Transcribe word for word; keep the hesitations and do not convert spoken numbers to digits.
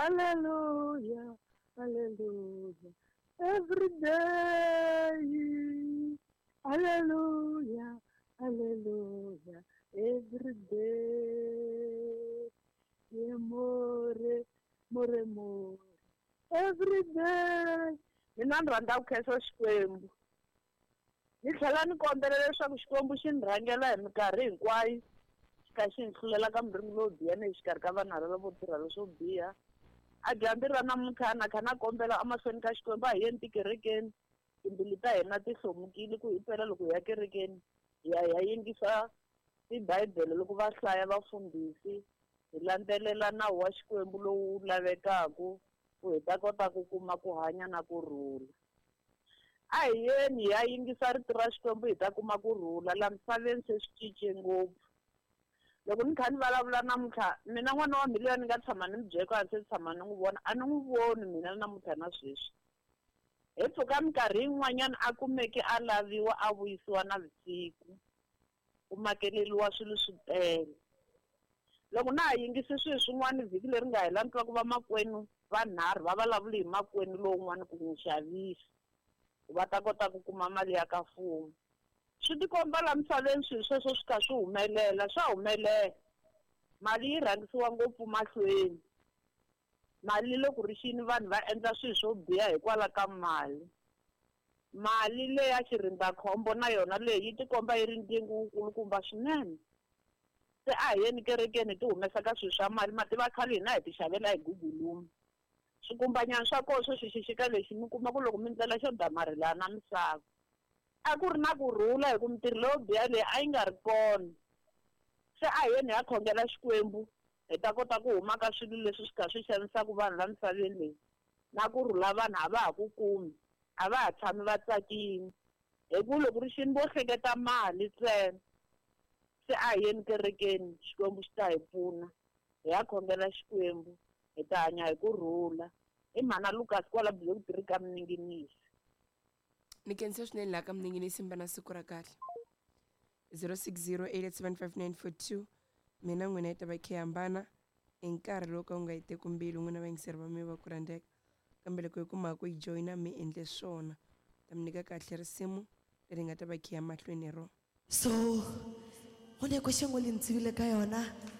Hallelujah, hallelujah. Every day. Hallelujah, hallelujah. Every day. Yeah, more, more, more. Every day. Mina ni rhandza ku khensa Xikwembu. Ni tlhela ni kombela leswaku Xikwembu xi ni rhangela hi minkarhi hinkwayo, xi kha xi ni hlulela ka miringo lowo biha ni exikarhi ka vanhu lava vo tirha leswo biha. A dyambu ra namuntlha na kha na kombela emahlweni ka Xikwembu, a hi yeni tikerekeni, timbilu ta hina ti hlomukile ku hi pela loko hi ya kerekeni, hi ya hi ya yingisa tibibele loko va hlaya vafundhisi, hi landzelela nawu wa Xikwembu lowu lavekaka ku hi ta kota ku kuma ku hanya na kurhula. A hi yeni hi ya yingisa rito ra Xikwembu hi ta kuma kurhula. La misaveni se swi cince ngopfu. Loko ni kha ni vulavula namuntlha, mina n'wana wa mina loyi ni nga tshama ni n'wi byela ku a se tshama ni n'wi vona, a ni n'wi voni mina namuntlha na sweswi. Hi mpfhuka minkarhi yin'wanyana a kumeke a laviwa a vuyisiwa navusiku, ku makeleriwa swilo swi tele. Loko na ha yingisi swilo swin'wana vhiki leri nga hela ni twa ku vamakwenu vanharhu va vulavule hi makwenu lowun'wana ku n'wi xavisa, ku va ta kota ku kuma mali ya ka mfumo. Swi tikomba la misaveni swilo sweswo swi kha swi humelela, swa humelela. Mali yi rhangisiwa ngopfu mahlweni. Mali loko ri xini vanhu va endla swilo swo biha hikwalaho ka mali. Mali leya xirindzakhombo na yona leyi yi tikomba yi ri ndyangu wukulukumba swinene. Se a hi yeni kerekeni hi ti humesa ka swilo swa mali, mativa khale hina hi ti xavela hi guguluma. Swikumbanyana swa kona swo xixika lexi mi kuma ku loko mi ndlela xo damarhelana na misava. A ku ri na kurhula hi ku mintirho leyo biha leyi a yi nga ri kona. Se a hi yeni hi ya khongela Xikwembu hi ta kota ku huma ka swilo leswi swi kha swi xanisaka vanhu la misaveni leyi. Na kurhula vanhu a va ha ku kumi, a va ha tshami va tsakile. Hi ku loko ri xini vo hleketa mali ntsena. Se a hi yeni kerekeni, Xikwembu xi ta hi pfuna. Hi ya khongela Xikwembu, hi ta hanya hi kurhula. I mhana Lucas kwala Block three ka Mninginisi. Ni khensa swinene laha ka Mninginisi, mi va na siku ra kahle. zero six zero eight eight seven five nine four two. Mina n'wina yi ta va khe hambana hi nkarhi lowu ka wu nga yi teki mbilu n'wina vayingiseri va mina va ku rhandzeka. Kambe loko hi kuma ku yi joyina mi endle swona, ta mi nyika kahle risimu leri nga ta va khe ya mahlweni hi rona. So go ne question e le ntsibile ka yona.